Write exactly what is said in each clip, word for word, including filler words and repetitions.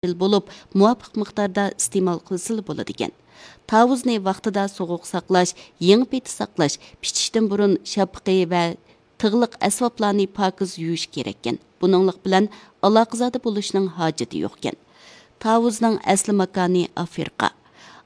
بولۇپ، مۇۋاپىق مىقداردا ئىستېمال قىلسىلا بولىدىكەن. تاۋۇزنى ۋاقتىدا سوغۇق ساقلاش، يېڭى پېتى ساقلاش، پىشىشتىن بۇرۇن شاپىقى ۋە تىغلىق ئەسۋابلارنى پاكىز يۇيۇش كېرەككەن. بۇنىڭلىق بىلەن ئالاقىزادە بولۇشنىڭ ھاجىتى يوقكەن. تاۋۇزنىڭ ئەسلى ماكانى ئافرىقا.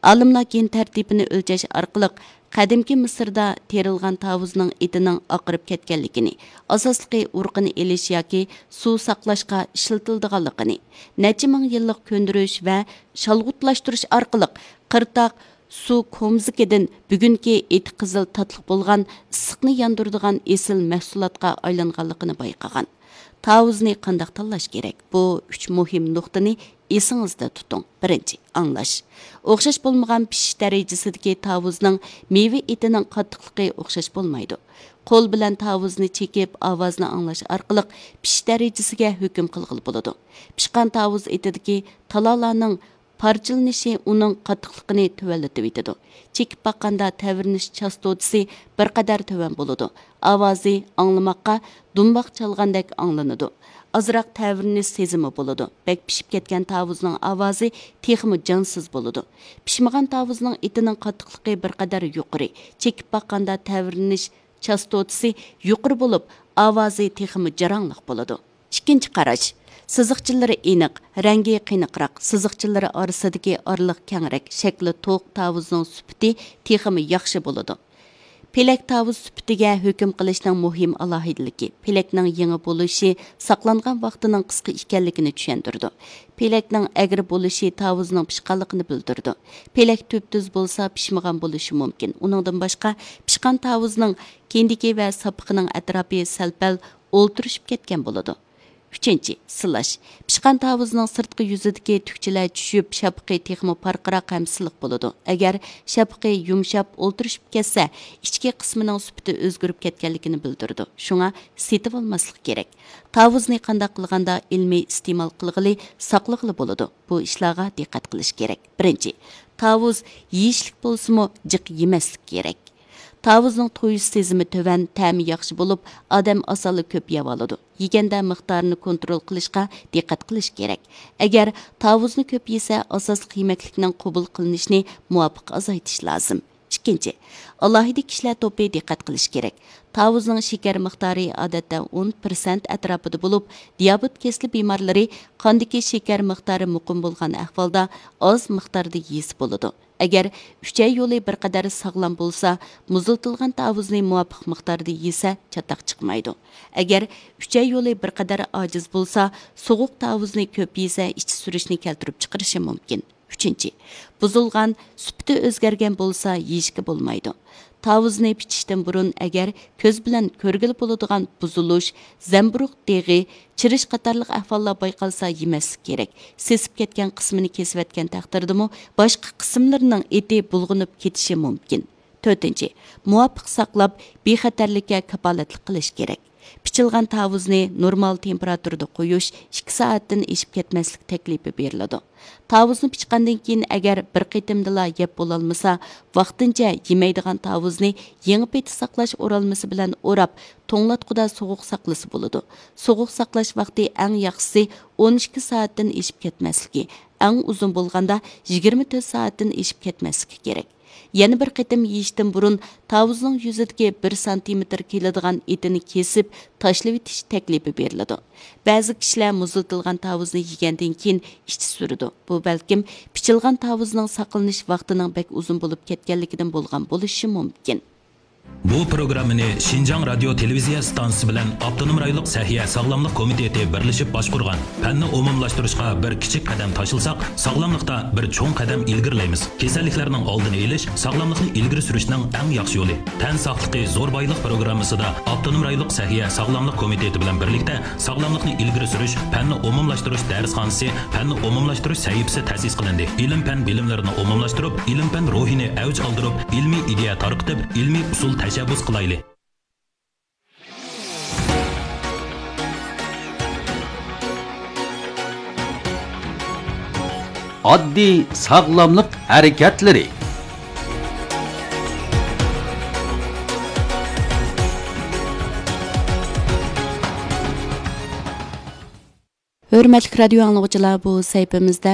ئالىملار گېن تەرتىپىنى ئۆلچەش ئارقىلىق قەدىمكى مىسىردا تېرىلغان تاۋۇزنىڭ ئېتىنىڭ ئاقىرىپ كەتكەنلىكىنى، ئاساسلىقى ئۇرۇقىنى ئېلىش ياكى سۇ ساقلاشقا ئىشلىتىلىدىغانلىقىنى، نەچچە مىڭ يىللىق كۆندۈرۈش ۋە شالغۇتلاشتۇرۇش ئارقىلىق قىرتاق سۇ كومزىكىدىن بۈگۈنكى ئېتى قىزىل تاتلىق بولغان ئىسسىقنى ياندۇرىدىغان ئېسىل مەھسۇلاتقا ئايلانغانلىقىنى بايقىغان. تاۋۇزنى قانداق تاللاش كېرەك؟ بۇ ئۈچ مۇھىم نۇقتىنى ئېسىڭىزدە تۇتۇڭ. بىرىنچى، ئاڭلاش. ئوخشاش بولمىغان پىشىش دەرىجىسىدىكى تاۋۇزنىڭ مېۋە ئېتىنىڭ قاتتىقلىقى ئوخشاش بولمايدۇ. قول بىلەن تاۋۇزنى چېكىپ، ئاۋازنى ئاڭلاش ئارقىلىق پىشىش دەرىجىسىگە ھۆكۈم قىلغىلى بولىدۇ. پىشقان تاۋۇز ئېتىدىكى تالالارنىڭ پارچىلىنىشى ئۇنىڭ قاتتىقلىقىنى تۆۋەنلىتىۋېتىدۇ. چېكىپ باققاندا تەۋرىنىش چاستوتىسى بىر قەدەر تۆۋەن بولىدۇ. ئاۋازى ئاڭلىماققا دۇمباق چالغاندەك ئاڭلىنىدۇ. ئازراق تەۋرىنىش سېزىمى بولىدۇ. بەك پىشىپ كەتكەن تاۋۇزنىڭ ئاۋازى تېخىمۇ جانسىز بولىدۇ. پىشمىغان تاۋۇزنىڭ ئېتىنىڭ قاتتىقلىقى بىر قەدەر يۇقىرى. چېكىپ باققاندا تەۋرىنىش چاستوتىسى يۇقىرى بولۇپ، ئاۋازى تېخىمۇ جاراڭلىق بولىدۇ. ئىككىنچى قاراش. سىزىقچىلىرى ئېنىق، رەڭگى قېنىقراق، سىزىقچىلىرى ئارىسىدىكى ئارىلىق كەڭرەك، شەكلى توق تاۋۇزنىڭ سۈپىتى تېخىمۇ ياخشى بولىدۇ. پېلەك تاۋۇز سۈپىتىگە ھۆكۈم قىلىشنىڭ مۇھىم ئالاھىدىلىكى، پېلەكنىڭ يېڭى بولۇشى ساقلانغان ۋاقتىنىڭ قىسقا ئىكەنلىكىنى چۈشەندۈرىدۇ. پېلەكنىڭ ئەگرى بولۇشى تاۋۇزنىڭ پىشقانلىقىنى بىلدۈرىدۇ. پېلەك تۈپتۈز بولسا، پىشمىغان بولۇشى مۇمكىن. ئۇنىڭدىن باشقا، پىشقان تاۋۇزنىڭ كېندىكى ۋە ساپىقىنىڭ ئەتراپى سەل-پەل ئولتۇرۇشۇپ كەتكەن بولىدۇ. ئۈچىنچى، سىلاش. پىشقان تاۋۇزنىڭ سىرتقى يۈزىدىكى تۈكچىلەر چۈشۈپ، شاپىقى تېخىمۇ پارقىراق ھەم سىلىق بولىدۇ. ئەگەر شاپىقى يۇمشاپ، ئولتۇرۇشۇپ كەتسە، ئىچكى قىسمىنىڭ سۈپىتى ئۆزگىرىپ كەتكەنلىكىنى بىلدۈرىدۇ. شۇڭا سېتىۋالماسلىق كېرەك. تاۋۇزنى قانداق قىلغاندا ئىلمىي ئىستېمال قىلغىلى، ساقلىغىلى بولىدۇ؟ بۇ ئىشلارغا دىققەت قىلىش كېرەك. بىرىنچى، تاۋۇز يېيىشلىك بولسىمۇ، جىق يېمەسلىك كېرەك. تاۋۇزنىڭ تويۇش سېزىمى تۆۋەن، تەمى ياخشى بولۇپ، ئادەم ئاسانلا كۆپ يەۋالىدۇ. يېگەندە مىقدارىنى كونترول قىلىشقا دىققەت قىلىش كېرەك. ئەگەر تاۋۇزنى كۆپ يېسە، ئاساسلىق يېمەكلىكنىڭ قوبۇل قىلىنىشىنى مۇۋاپىق ئازايتىش لازىم. ئىككىنچى، ئالاھىدە كىشىلەر توپى دىققەت قىلىش كېرەك. تاۋۇزنىڭ شېكەر مىقدارى ئادەتتە ئون پىرسەنت ئەتراپىدا بولۇپ، دىيابېت كېسىلى بىمارلىرى قاندىكى شېكەر مىقدارى مۇقىم بولغان ئەھۋالدا ئاز مىقداردا يېسە بولىدۇ. ئەگەر ئۈچەي يولى بىر قەدەر ساغلام بولسا، مۇزلىتىلغان تاۋۇزنى مۇۋاپىق مىقداردا يېسە، چاتاق چىقمايدۇ. ئەگەر ئۈچەي يولى بىر قەدەر ئاجىز بولسا، سوغۇق تاۋۇزنى كۆپ يېسە، ئىچى سۈرۈشنى كەلتۈرۈپ چىقىرىشى مۇمكىن. ئۈچىنچى، بۇزۇلغان، سۈپىتى ئۆزگەرگەن بولسا، يېيىشكە بولمايدۇ. تاۋۇزنى پىچىشتىن بۇرۇن، ئەگەر كۆز بىلەن كۆرگىلى بولىدىغان بۇزۇلۇش، زەمبۇرۇغ دېغى، چىرىش قاتارلىق ئەھۋاللار بايقالسا، يېمەسلىك كېرەك. سېسىپ كەتكەن قىسمىنى كېسىۋەتكەن تەقدىردىمۇ، باشقا قىسىملىرىنىڭ ئېتى بۇلغىنىپ كېتىشى مۇمكىن. تۆتىنچى، مۇۋاپىق ساقلاپ، بىخەتەرلىككە كاپالەتلىك قىلىش كېرەك. پىچىلغان تاۋۇزنى نورمال تېمپېراتۇرىدا قويۇش، ئىككى سائەتتىن ئېشىپ كەتمەسلىك تەكلىپى بېرىلىدۇ. تاۋۇزنى پىچقاندىن كېيىن، ئەگەر بىر قېتىمدىلا يەپ بولالمىسا، ۋاقتىنچە يېمەيدىغان تاۋۇزنى يېڭى پېتى ساقلاش ئورالمىسى بىلەن ئوراپ، توڭلاتقۇدا سوغۇق ساقلىسا بولىدۇ. سوغۇق ساقلاش ۋاقتى ئەڭ ياخشىسى ئون ئىككى سائەتتىن ئېشىپ كەتمەسلىكى، ئەڭ ئۇزۇن بولغاندا يىگىرمە تۆت سائەتتىن ئېشىپ كەتمەسلىكى كېرەك. يەنە بىر قېتىم يېيىشتىن بۇرۇن تاۋۇزنىڭ يۈزىدىكى بىر سانتىمېتىر كېلىدىغان ئېتىنى كېسىپ تاشلىۋېتىش تەكلىپى بېرىلىدۇ. بەزى كىشىلەر مۇزلىتىلغان تاۋۇزنى يېگەندىن كېيىن ئىچى سۈرىدۇ. بۇ بەلكىم پىچىلغان تاۋۇزنىڭ ساقلىنىش ۋاقتىنىڭ بەك ئۇزۇن بولۇپ كەتكەنلىكىدىن بولغان بولۇشى مۇمكىن. بۇ پروگراممىنى شىنجاڭ رادىيو تېلېۋىزىيە ئىستانسىسى بىلەن ئاپتونوم رايونلۇق سەھىيە ساغلاملىق كومىتېتى بىرلىشىپ باشقۇرغان. پەننى ئومۇملاشتۇرۇشقا بىر كىچىك قەدەم تاشلىساق، ساغلاملىقتا بىر چوڭ قەدەم ئىلگىرىلەيمىز. كېسەللىكلەرنىڭ ئالدىنى ئېلىش، ساغلاملىقنى ئىلگىرى سۈرۈشنىڭ ئەڭ ياخشى يولى. تەن ساقلىقى زور بايلىق پروگراممىسىدا ئاپتونوم رايونلۇق سەھىيە ساغلاملىق كومىتېتى بىلەن بىرلىكتە ساغلاملىقنى ئىلگىرى سۈرۈش پەننى ئومۇملاشتۇرۇش دەرسخانىسى، پەننى ئومۇملاشتۇرۇش سەھىپىسى تەسىس قىلىندى. ئىلىم-پەن بىلىملىرىنى ئومۇملاشتۇرۇپ، ئىلىم-پەن روھىنى ئەۋج ئالدۇرۇپ، ئىلمىي ئىدىيە تارقىتىپ، ئىلمىي ئۇسۇل تەشەببۇس قىلايلى. ئاددىي ساغلاملىق ھەرىكەتلىرى. ھۆرمەتلىك رادىيو ئاڭلىغۇچىلار، بۇ سەھىپىمىزدە